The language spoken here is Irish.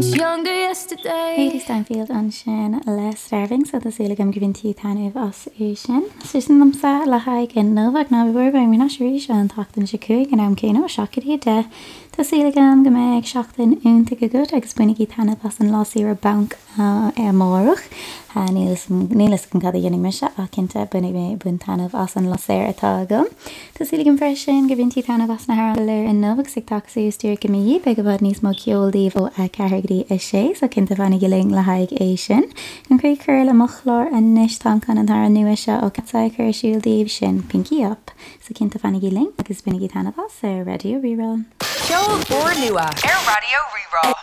Hailee Steinfeld ansin le Starving so tá súil agam gur bhain tú taitneamh as é sin. So sin liomsa le haghaidh inniu ach ná bí buartha beidh mé ar ais arís an tseachtain seo chugainn ag an am céanna ó 7 go dtí 10. Tá súil agam go mbeidh seachtain iontach agat agus bainigí taitneamh as an lá saoire bainc amárach. Níl fhios agam cad a dhéanfaidh mise ach cinnte bainfidh mé bain taitneamh as an lá saor atá agam. Tá súil agam freisin gur bhain tú taitneamh as na hamhráin go léir inniu agus ag teacht suas díreach i mo dhiaidh beidh i bhfad níos mó ceoil daoibh ó 4 go dtí 6 so cinnte fanaigí linn le haghaidh é sin. Chun críoch a chur le mo chlár anois táim chun an t-amhrán nua seo ó Katseye a chur ar siúl daoibh, sin Pinky Up. So cinnte fanaigí linn agus bainigí taitneamh as ar Raidió Rí-Rá. Ceol úrnua ar Raidió Rí-Rá.